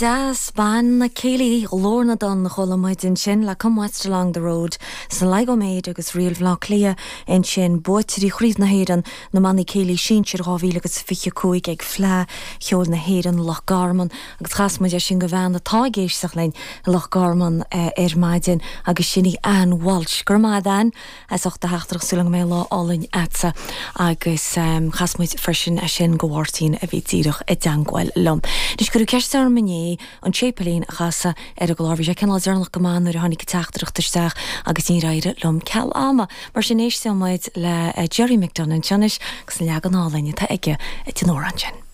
Deas, Banna Céilí Ghlór na dTonn a chuala muid ansin le Come West Along the Road, Sligo Maid agus Ríl Bhaile Átha Cliath ansin, buaiteoirí Chraobh na hÉireann na mBannaí Céilí Sinsir 2025 ag Fleadh Cheoil na hÉireann, Loch Garman agus chas muid é sin do bhean atá ag éisteacht linn i Loch Garman ar maidin agus sin í Ann Walsh. Go raibh maith agat Ann. As ucht do theachtaireacht, súil agam go mbeidh lá álainn a'dsa. Agus chas muid freisin é sin go Mháirtín a bhí díreach i dteangmháil liom. Anois cuireadh ceist orm inné an Séipéilín a chasadh ar an gclár. Bhí sé cineál deireanach go maith nuair a tháinig an teachtaireacht isteach agus níor éirigh liom ceal ama. Mar sin éistfidh muid le Gerry McDonagh anseo anois agus an leagan álainn atá aige den amhrán sin.